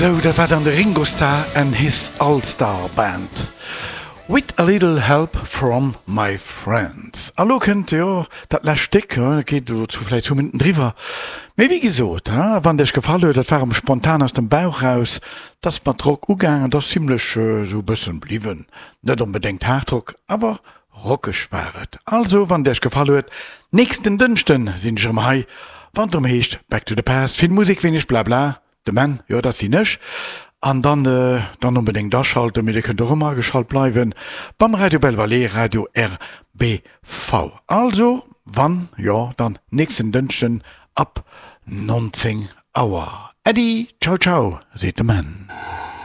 Sou, dat war dann de Ringo Starr and his All Star Band with a little help from my friends. A lo kënnt, jo, dat lescht Stéck, dat geet elo zu vläicht zwou Minutten driwwer, mee wéi gesot, wann et iech gefall huet, dat war erëm spontan aus dem Bauch raus, dat ass mat Rock ugaangen, dat ass zimlech esou e bëssen bliwwen, net onbedéngt Hardrock, awer Rockeg war et. Also wann et iech gefall huet, nächsten Dënschden sinn ech erëm hei, wann et erëm heescht Back to the Past, vill Musek, wéineg Blabla, de Menn, jo dat sinn ech, an dann dann onbedéngt aschalten, mee dir kënnt och ëmmer ageschalt bleiwen beim Radio Belval, Radio RBV. Also wann jo, dann nächsten Dënschden ab 19 Auer. Äddi, ciao ciao, seet de Menn.